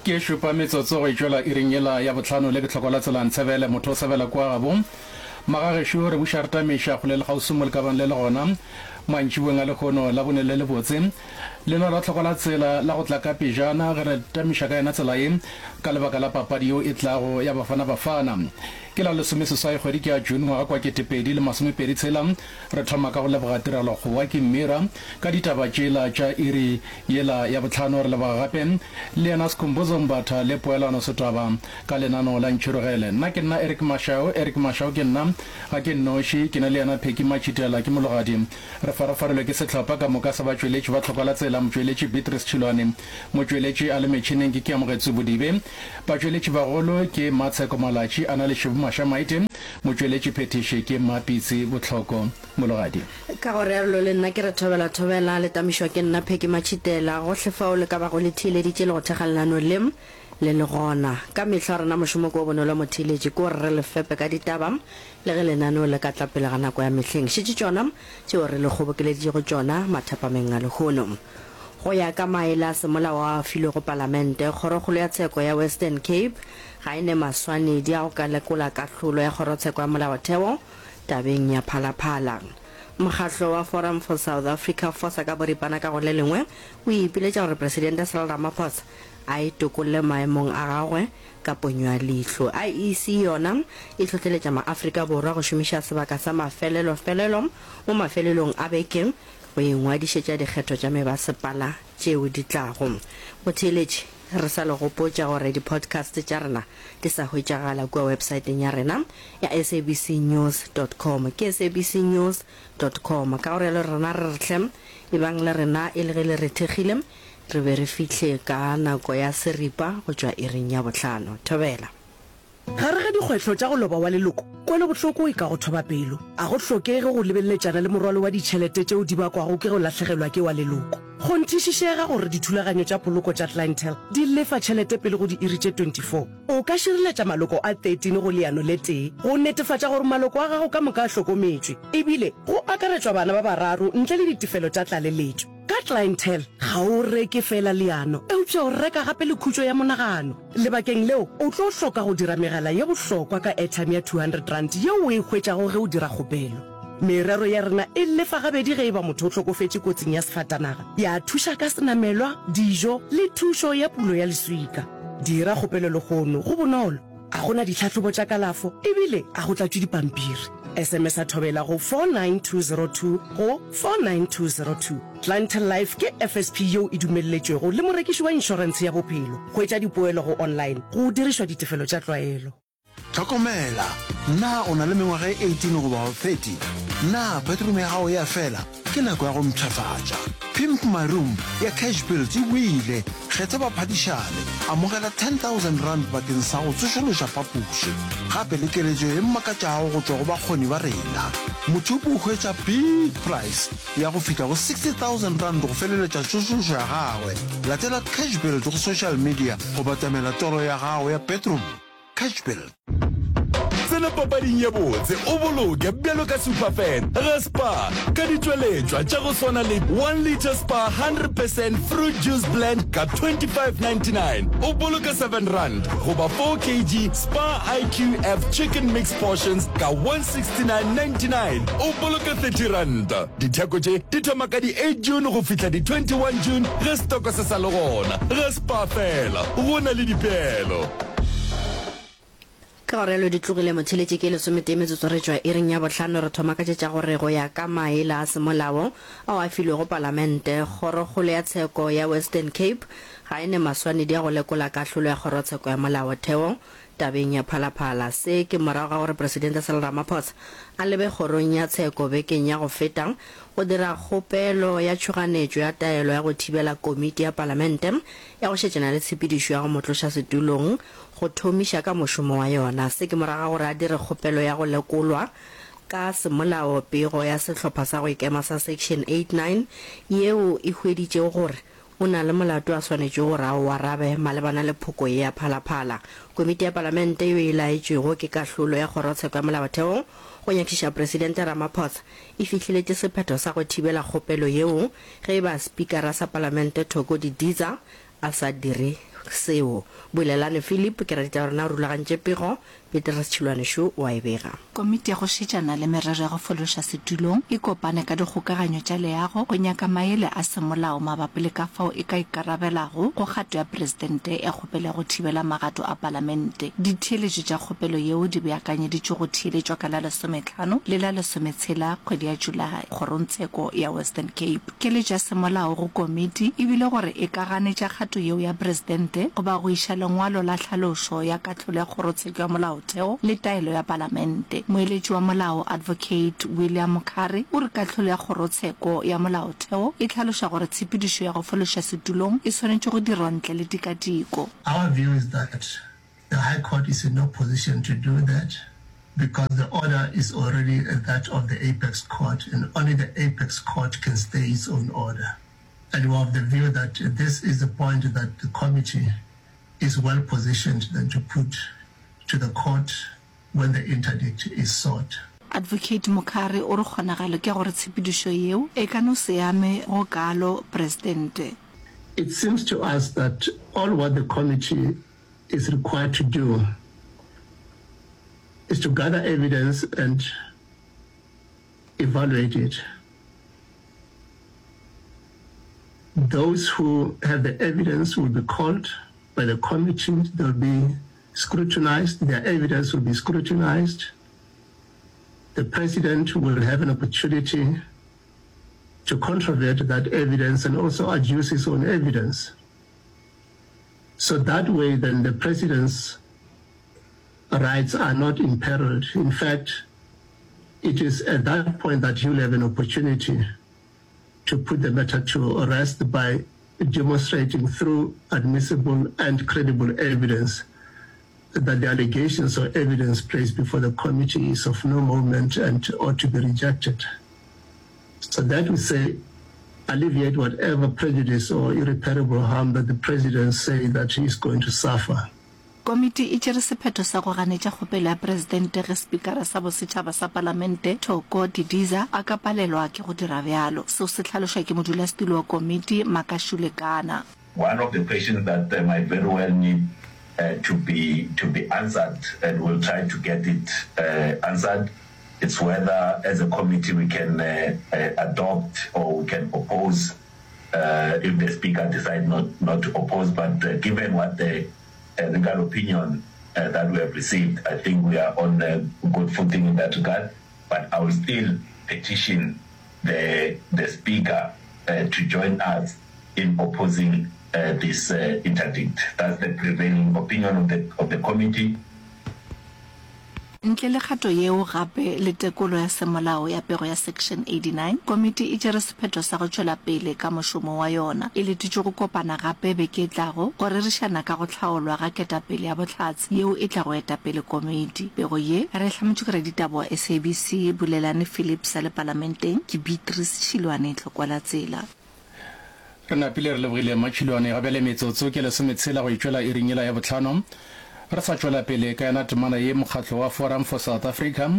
Ke šupa metsotso go itšwela iring yela ya bohlano le ke hloko la tsela Ntshebele motho o sebela kua gabo. Magagešo re buša re tamiša kgole le kgauswi mo le ka bang le le gona. Mantšiboeng a lehono Labone le lebotse. Lelwa la hloko la tsela la go tla ka pejana ge re tamiša ka yona tsela ye ka lebaka la papadi yeo e tlago ya Bafana Bafana. Ke la lesomeseswai kgwedi ke ya June ngwaga kwa 2026. Re thoma ka go leboga tirelo Kgowa ke Mmira ka ditaba tšela tša iri yela ya bohlano. Re leboga gape le yena Skhumbuzo Mbatha le Poelano Setwaba ka lenaneo la Ntšhirogele. Nna ke nna Eric Mashau, Eric Mashau ke nna, ga ke nnoši, ke na le yena Phecky Matšhitela, ke mologadi. Re farafarilwe ke sehlopha ka moka sa batšweletši ba Tlhokwa la Tsela, motšweletši Beatrice Tšhilwane, motšweletši a le metšhineng ke Keamogetswe Bodibe, batšweletši bagolo ke Mmatsheko Malatši a na le Šebo Mašamaite, Motšweletši phethiši ke Mmapitsi Bohloko Mologadi. Ka go realo le nna ke re thobela thobela, le tamišwa ke nna Phecky Matšhitela, gohle fao le ka bago le theeleditše le go thekga lenaneo le, le le gona. Ka mehla rena mošomo ke o bonolo motheeletši, ke gore re le fepe ka ditaba le ge lenaneo le ka tla pele ga nako ya mehleng. Šetše tšona tšeo re le kgobokeleditšego tšona mathapameng a lehono. Go ya ka maele a semolao ao a filwego Palamente, Kgorokgolo ya Tsheko ya Western Cape ga e ne maswanedi a go ka lekola kahlolo ya Kgorotsheko ya Molaotheo tabeng ya Phalaphala. Mokgatlo wa Forum for South Africa, FOSA ka boripana ka go le lengwe, o ipiletša gore Presidente Cyril Ramaphosa a itokolle maemong a gagwe ka ponyo ya leihlo. IEC yona e hlohleletša maAfrika Borwa go šomiša sebaka sa mafelelofelelo mo mafelelong a beke go ingwadišetša dikgetho tša mebasepala tšeo di tlago. Motheeletši. Re sa le gopotša gore di-podcast tša rena di sa hwetšagala kua websaeteng ya rena ya sabcnews dot com. Ke sabcnews dot com. Ka go realo rena re re hle, ebang le rena e le ge le re thekgile, re be re fihle ka nako ya seripa go tšwa iring ya bohlano. Thobela. Gare ga dikgwetlho tša go loba wa leloko, kwelobohloko e ka go thoba pelo. A go hlokege go lebeleletšana le morwalo wa ditšhelete tšeo di bakwago ke go lahlegelwa ke wa leloko. Kgonthišišega gore dithulaganyo tša poloko tša Clientele di lefa tšhelete pele go diiri tše 24. O ka šireletša maloko a 13 go leano le tee go netefatša gore maloko a gago ka moka a hlokometšwe, ebile go akaretšwa bana ba bararo ntle le ditefelo tša tlaleletšo. Ka Clientele, ga o reke feela leano, eupša o reka gape le khutšo ya monagano. Lebakeng leo, o tlo hloka go dira megala ye bohlokwa ka airtime ya R200 yeo o e hwetšago ge o dira kgopelo. Merero ya rena e lefa gabedi ge e ba motho o hlokofetše kotsing ya sefatanaga, ya thuša ka senamelwa, dijo le thušo ya pulo ya leswika. Dira kgopelo lehono, go bonolo, ga go na ditlhahlobo tša kalafo ebile ga go tlatšwe dipampiri. SMS-a Thobela go 49202 go 49202. Clientele Life ke FSP yeo e dumelletšwego le morekiši wa inšorentshe ya bophelo. Hwetša dipoelo go online go dirišwa ditefelo tša tlwaelo. Hlokomela! Na o na le mengwaga e 18 goba 30? Na bathroom ya gago e a fela? Ke nako ya go mpshafatša. Pimp My Room ya Cash Builds e boile! Kgetha baphadišane, amogela R10,000 bakeng sa go tsošološa phapoši, gape le keletšo e makatšago go tšwa go bakgoni ba rena. Mothupi o hwetša big prize ya go fihla go R60,000 go feleletša tsošološo ya gagwe. Latela Cash Build go social media go batamela toro ya gago ya bedroom. Cash Build. Tsena papading ye botse o boloke bjalo ka superfan ga Spar ka ditšweletšwa tša go swana le 1 litre Spar 100 percent fruit juice blend ka 25.99 o boloka R7 goba 4 kg Spar IQF chicken mix portions ka 169.99 o boloka R30. Ditheko tše di thoma ka di 8 June go fihla di 21 June ge setoko se sa le gona. Ga Spar fela go na le dipeelo. Ka go realo di tlogile motheletši ke lesometee metsotso re tšwa iring ya bohlano re thoma ka tše tša gore go ya ka maele a semolao ao a filwego palamente, Kgorokgolo ya Tsheko ya Western Cape ga e ne maswanedi a go lekola kahlolo ya Kgorotsheko ya Molaotheo tabeng ya Phalaphala. Se ke morago ga gore Presidente Cyril Ramaphosa a lebe kgorong ya tsheko bekeng ya go feta go dira kgopelo ya tšhoganetšo ya taelo ya go thibela komiti ya palamente ya go šetšana le tshepedišo ya go mo tloša setulong go thomiša ka mošomo wa yona. Se ke morago ga gore a dire kgopelo ya go lekolwa ka semolao pego ya sehlopha sa go ikema sa Section 89 yeo e hweditšego gore o na le molato a swanetšego gore a o arabe malebana le phoko ye ya Phalaphala. Komiti ya Palamente yeo e laetšwego ke kahlolo ya Kgorotsheko ya Molaotheo go nyakišiša Presidente Ramaphosa e fihleletše sephetho sa go thibela kgopelo yeo ge e ba Spikara sa Palamente Thoko Didiza a sa dire. seo. Bulelani Philip ke raditaba rena o rulagantše pego, Petrus Tšhilwane šo o a e bega. Komiti ya go šetšana le merero ya go fološa setulong e kopane ka dikgokaganyo tša leago go nyaka maele a semolao mabapi le ka fao e ka ikarabelago go kgato ya Presidente ya kgopelo ya go thibela magato a Palamente. Ditheeletšo tša kgopelo yeo di beakanyeditšwe go theeletšwa ka la lesometlhano le la lesometshela kgwedi ya Julae Kgorongtsheko ya Western Cape. Keletšo ya semolao go komiti e bile gore e ka ganetša kgato yeo ya Presidente goba go iša lengwalo la tlhalošo ya kahlolo ya Kgorotsheko ya Molaotheo le taelo ya Palamente. Moeletši wa molao Advocate William Mkhari o re kahlolo ya Kgorotsheko ya Molaotheo e hlaloša gore tshepedišo ya go fološa setulong e swanetše go dirwa ntle le tikatiko. Our view is that the High Court is in no position to do that because the order is already that of the Apex Court and only the Apex Court can stay its own order. And we are of the view that this is the point that the committee is well positioned then to put to the court when the interdict is sought. Advocate Mokhari o re kgonagalo ke ya gore tshepedišo yeo e ka no se ame go kaalo Presidente. It seems to us that all what the committee is required to do is to gather evidence and evaluate it. Those who have the evidence will be called by the committee, they'll be scrutinized, their evidence will be scrutinized. The president will have an opportunity to controvert that evidence and also adduce his own evidence. So that way then the president's rights are not imperiled. In fact, it is at that point that he will have an opportunity to put the matter to rest by demonstrating through admissible and credible evidence that the allegations or evidence placed before the committee is of no moment and ought to be rejected. So that we say alleviate whatever prejudice or irreparable harm that the president say that he is going to suffer. Komiti e tšere sephetho sa go ganetša kgopelo ya Presidente ge Spikara sa Bosetšhaba sa Palamente, Thoko Didiza, a ka palelwa ke go dira bjalo. Seo se hlalošwa ke modulasetulo wa komiti, Makashule Gana. One of the questions that might very well need to be to be answered and we'll try to get it answered it's whether as a committee we can adopt or we can oppose if the speaker decide not not to oppose but given what the legal opinion that we have received I think we are on good footing in that regard but I will still petition the the speaker to join us in opposing this interdict. That's the prevailing opinion of the of the committee. Ntle le kgato yeo gape le tekolo ya semolao ya pego ya Section 89, komiti e tšere sephetho sa go tšwela pele ka mošomo wa yona. E letetšwe go kopana gape beke e tlago go rerišana ka go hlaolwa ga ketapele ya bohlatse yeo e tlago eta pele komiti. Pego ye re e hlametšwe ke raditaba wa SABC Bulelani Phillips a le Palamenteng ke Beatrice Tšhilwane Tlhokwalatsela. Re napile re lebogile Mmatšhilwane. Ga bjale metsotso ke lesometshela go itšwela iring yela ya bohlano. Re sa tšwela pele ka yona temana ye, mokgatlo wa Forum for South Africa,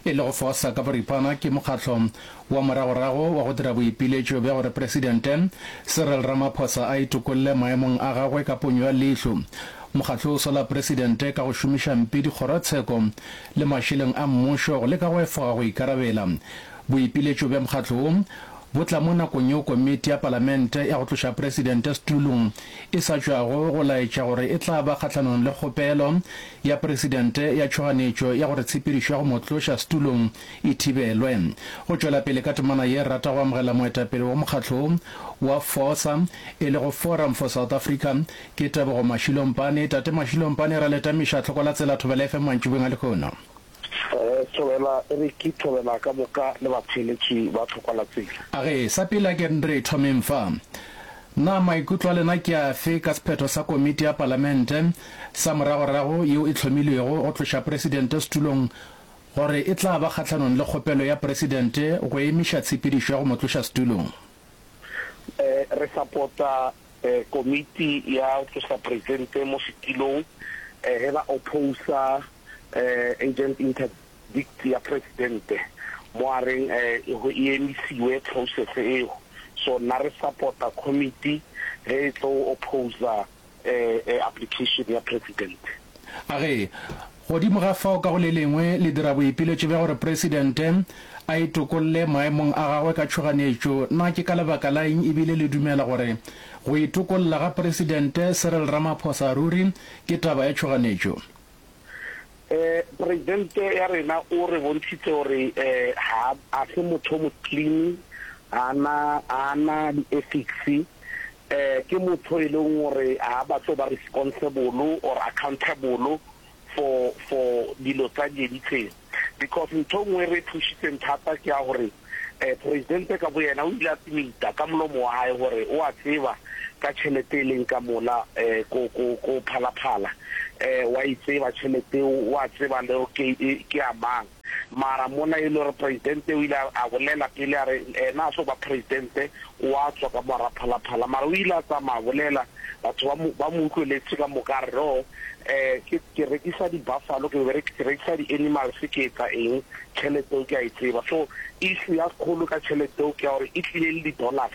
e lego FOSA ka boripana, ke mokgatlo wa moragorago wa go dira boipiletšo bja gore Presidente Cyril Ramaphosa a itokolle maemong a gagwe ka ponyo ya leihlo. Mokgatlo o sola Presidente ka go šomiša mpe dikgorotsheko le mašeleng a mmušo go leka go efoga go ikarabela. Boipiletšo bja mokgatlo wo bo tla mo nakong yeo komiti ya palamente ya go tloša presidente setulong e sa tšwago go laetša gore e tla ba kgahlanong le kgopelo ya presidente ya tšhoganetšo ya gore tshepedišo ya go mo tloša setulong e thibelwe. Go tšwela pele ka temana ye, re rata go amogela moetapele wa mokgatlo wo wa FOSA, e lego Forum for South Africa, ke Tebogo Mashilompane. Tate Mashilompane, ra le tamiša tlhoko la tsela Thobela FM mantšiboeng a lehono. Thobela Eric, Thobela ka moka le batheeletši ba Tlhokwalatsela. A ge, sa pele a ke re thomeng fa. Na maikutlo a lena ke afe ka sephetho sa komiti ya palamente sa moragorago yeo e hlomilwego go tloša presidente setulong gore e tla ba kgahlanong le kgopelo ya presidente go emiša tshepedišo ya go mo tloša setulong? Re sapota komiti ya go tloša presidente mo setilong ge ba opposa Agent interdict ya presidente mo a reng go e emisiwe process eo. So nna re supporta committee ge e tlo opposa. application ya President. A re, Godimo ga fao ka go le lengwe le dira boipiletšo bja gore Presidente a itokolle maemong a gagwe ka tšhoganetšo. Na ke ka lebaka la eng ebile le dumela gore go itokolla ga Presidente Cyril Ramaphosa ruri ke taba ya tšhoganetšo? Presidente ya rena o re bontšhitše gore ga a se motho o mo clean, ga a na na di-ethics, ke motho e leng gore ga a batle go ba responsible or accountable for for dilo tsa di editseng. Because ntho e nngwe e re thušitseng thata ke ya gore Presidente ka boyena o ile a admita ka molomo wa hae gore o a tseba ka tšhelete e leng ka mola ko ko ko Phalaphala. Wa e tseba tšhelete eo, o a tseba le gore ke ke ya mang. Mara mola e le gore Presidente o ile a bolela pele a re ena a so ba Presidente o a tswa ka mo hara Phalaphala. Mara o ile a tsamaya a bolela, batho ba mo ba mo utlweletse ka moka a re no ke ke rekisa di buffalo, ke ke rekisa di animals ke etsa eng, tšhelete eo ke a e tseba. So issue ya kgolo ka tšhelete eo ke ya gore e tlile le di dollars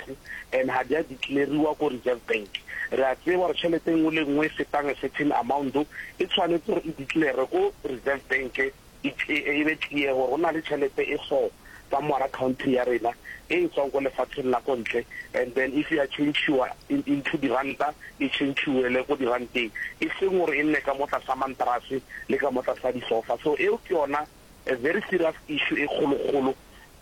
and ga di a declare-iwa ko Reserve Bank. Re a tseba gore tšhelete e nngwe le nngwe e fetang a certain amount e tshwanetse gore e declare ko Reserve Bank e e be clear gore go na le tšhelete e so ka mo gara country ya rena e e tswang ko lefatsheng la ko ntle and then if ya change-iwa into diranta e change-iwele ko diranteng e seng gore e nne ka mo tlasa mantrase le ka mo tlasa disofa. So eo ke yona a very serious issue e kgolokgolo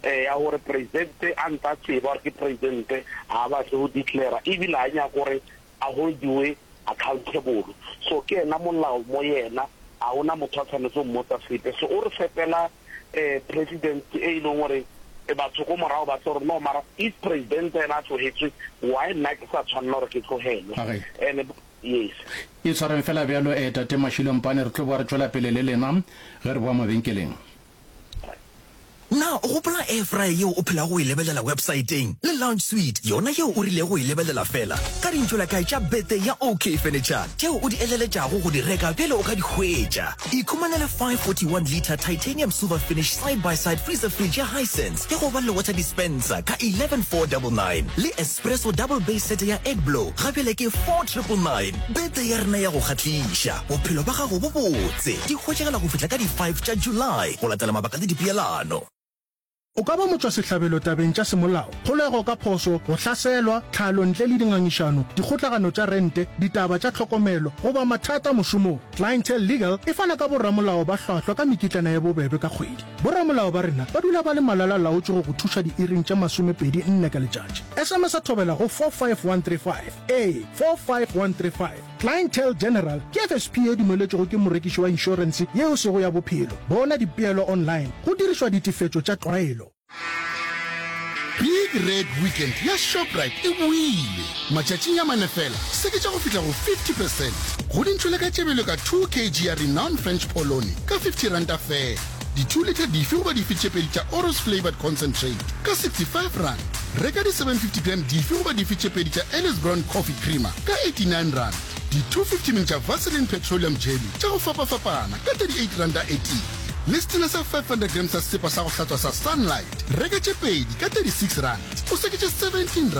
ya gore presidente a ntse a tseba gore ke presidente ga a batle go declare ebile ga nyake gore a holdiwe accountable. So ke yena molao mo yena, ga gona motho a tshwanetse go mmotsa sepe. So o re fepela president e e leng gore batho ko morago ba tlo re no mara if president ena a tlogetswe why nna ke sa tshwanela gore ke tlogelwe. And yes. E tshwareng fela bjalo Tate Mashilo Mpane, re tlo boa re tšwela pele le lena ge re boa mabenkeleng. Na o gopola air fryer yeo o phelago o e lebelela websaeteng le lounge suite yona yeo o rilego go e lebelela feela ka dintšolakae tša birthday ya OK Furniture tšeo o di eleletšago go di reka bjale o ka di hwetša? Ikhumanele 541 litre titanium silver finish side by side freezer fridge ya Hisense ya go ba le water dispenser ka 11499 le espresso double base set ya egg blow ga bjale ke 4999. Birthday ya rena ya go kgahliša, bophelo bja gago bo botse, di hwetšagala go fihla ka di 5 tša July go latela mabaka le dipeelano. O ka ba motšwasehlabelo tabeng tša semolao, kgolego ka phošo, go hlaselwa, tlhalo ntle le dingangišano, dikgotlagano tša rente, ditaba tša tlhokomelo, goba mathata mošomong. Clientele Legal e fana ka boramolao ba hlwahlwa ka mekitlana ye bobebe ka kgwedi. Boramolao ba rena ba dula ba le malala-laotšwe go go thuša diiring tše masomepedi nne ka letšatši. SMS-a thobela go 45135. Ee, 45135. Clientele General ke FSP ye dumeletšwego ke morekiši wa inšorense ye e sego ya bophelo. Bona dipeelo online go dirišwa ditefetšo tša tlwaelo. Big Red Weekend ya Shoprite e boile! Matšatšing a mane fela, seketša go fihla go 50 percent go dintšho le ka tšebelo ka 2 kg ya Renown French Polony ka R50 feela. Di-two litre dife goba dife tše pedi tša Oros Flavoured Concentrate ka R65. Reka di 750 gram dife goba dife tše pedi tša Ellis Brown Coffee Creamer ka R89. Di 250 ml tša Vaseline Petroleum Jelly tša go fapafapana ka R38 e tee. Le setena sa 500 gram sa sesepa sa go hlatswa sa Sunlight, reka tše pedi ka R36, o seketše R17.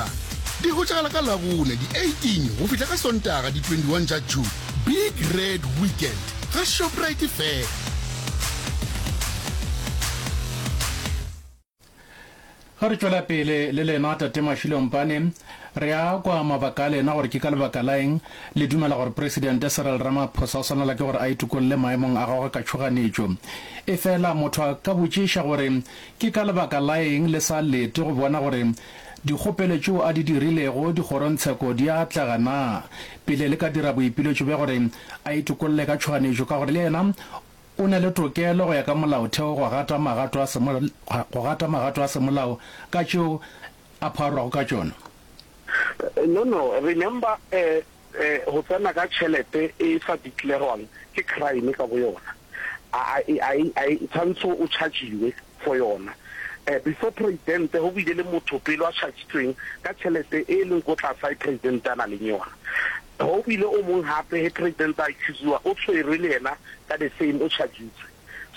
Di hwetšagala ka Labone di 18 go fihla ka Sontaga di 21 tša June. Big Red Weekend ga Shoprite fela. Ge re tšwela pele le lena, Tate Mashilo Mpane, re a kwa mabaka a lena gore ke ka lebaka la eng le dumela gore Presidente Cyril Ramaphosa o swanela ke gore a itokolle maemong a gagwe ka tšhoganetšo. Efela motho a ka botšiša gore ke ka lebaka la eng le sa lete go bona gore dikgopelo tšeo a di dirilego dikgorongtsheko di a atlega na pele le ka dira boipiletšo bja gore a itokolle ka tšhoganetšo ka gore le yena O na le tokelo go ya ka molaotheo go gata magato a go gata magato a semolao ka tšeo a pharwago ka tšona. No, no, remember go tsena ka tšhelete e sa declarwang ke crime ka bo yona. A a a tshwantsho o chargiwe for yona. Before president go bile le motho pele a chargitsweng ka tšhelete e leng ko tlase a president a na leng yona. Go bile o mong gape ge president a accusiwa o tshwerwe le yena ka the same o chargitswe.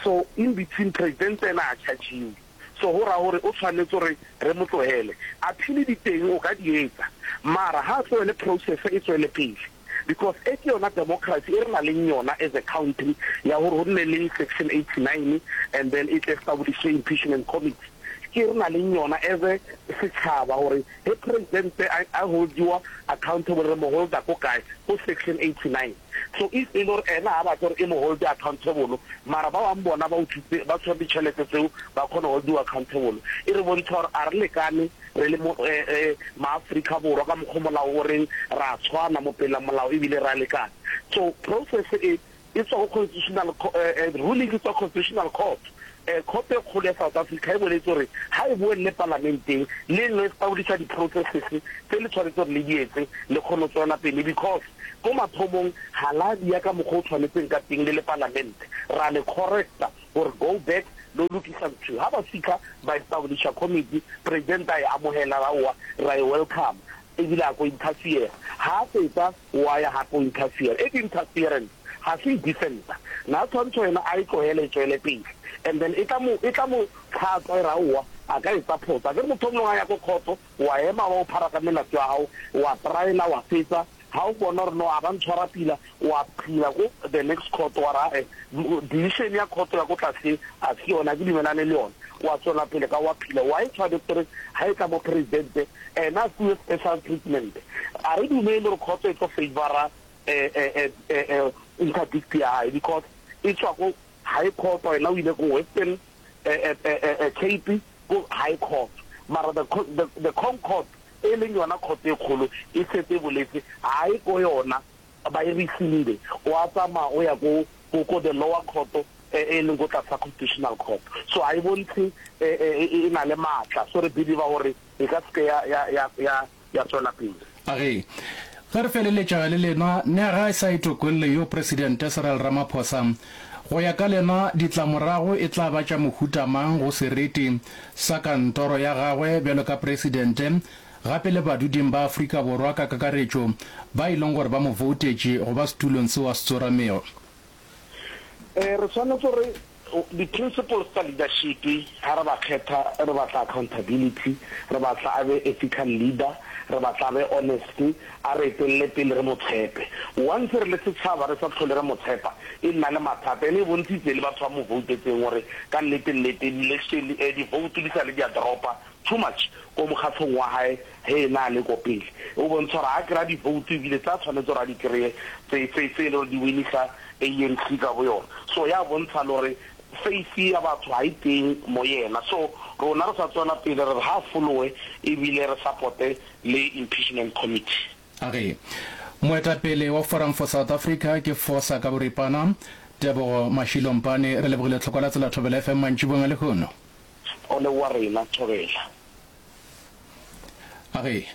So in between president ena a chargiwe. So go ra gore o tshwanetse gore re mo tlogele. Appeal di teng o ka di etsa mara ga a tlohele process e tswele pele. Because e ke yona democracy e re na leng yona as a country ya gore go nne le section 89 and then e tle establish impeachment committee. Ke re na leng yona as a setšhaba gore ge president a a holdiwa accountable re mo holda ko kae, ko section 89. So if e le gore ena ga batle gore e mo holde accountable mara ba bang bona ba utswitse ba tshwere ditšhelete tseo ba kgona go holdiwa accountable, e re bontsha gore a re lekane Re le mo, eh, eh, Maafrika Borwa, ka mokgwa molao o reng ra tshwana mo pela molao ebile ra lekana. So process e, e tswa go Constitutional, eh, eh, ruling e tswa Constitutional Court. Eh, Court e kgolo ya South Africa e boletse gore ha e boelele palamenteng le no establisha di-processes tse le tshwanetse gore le di etse le kgone go tswela pele because ko mathomong ga la dia ka mokgwa o tshwanetseng ka teng le le palamente ra le correcta gore go back lo lokisa ntho. Ha ba fitlha ba establisha committee, president a e amohela ra oa ra e welcome ebile a ko interfere. Ha a fetsa wa ya hape o interfere. E ke interference ga se e defender. Na tshwantsho yena a e tlohele e tswele pele and then e tla mo e tla mo tlhatswa e ra oa a ka etsa phoso. Akere motho o mongwe a ya ko court wa ema wa o phara ka melato ya hao wa tryela wa fetsa Ha o bona gore no a ba ntshwara pila, wa phila ko the next court wa re ae decision ya court ya ko tlase a se yone, a ke dumelane le yone. Wa tswela pele ka wa phila. Why tshwanetse re ha e tla mo president ena a fiwe special treatment? A re dumele gore court e tlo favour interdict ya hae because e tswa ko high court, yena o ile ko Western Cape ko high court mara the the the concord e leng yona court e kgolo e setse e boletse ha e ko yona ba e rescinde o a tsamaya o ya ko ko ko the lower court e leng ko tlase ga constitutional court so ha e bontshe e na le matla so re believe gore e ka seke ya ya ya ya ya tswela pele. A re, Ge re feleletša le lena, nega e sa itokolle yo Presidente Cyril Ramaphosa. Go ya ka lena, ditlamorago e tla ba tša mohuta mang go seriti sa kantoro ya gagwe bjalo ka Presidente, gape le baduding ba Afrika Borwa ka kakaretšo ba e leng gore ba mo voutetše go ba setulong seo a se tsoramego? Re swanetše gore Di-principles tsa leadership ha re ba kgetha re batla accountability, re batla a be ethical leader, re batla a be honest, a re etelele pele re mo tshepe. Once re le setšhaba re sa tlhole re mo tshepa e nna le mathata ene e bontshitse le batho ba mo voutetseng gore ka nnete nnete di-election di-vote di sale di a dropa too much ko mokgatlhong wa hae ge ena a le ko pele. O bontsha gore ha a kry-a di-vote ebile tse a tshwanetse gore a di kry-e tse tse tse e le gore di winisa ANC ka bo yona. So ya bontsha le gore faith ya batho ga e teng mo yena. So rona re sa tswela pele re re ha a followe ebile re supporte le impeachment committee. A re, Moetapele wa Forum for South Africa ke Fosa ka boripana, Tebogo Mashilo Mpane. Re lebogile tlhoko la tsela Thobela FM mantšiboeng a lehono. O leboga rena, Thobela. A re.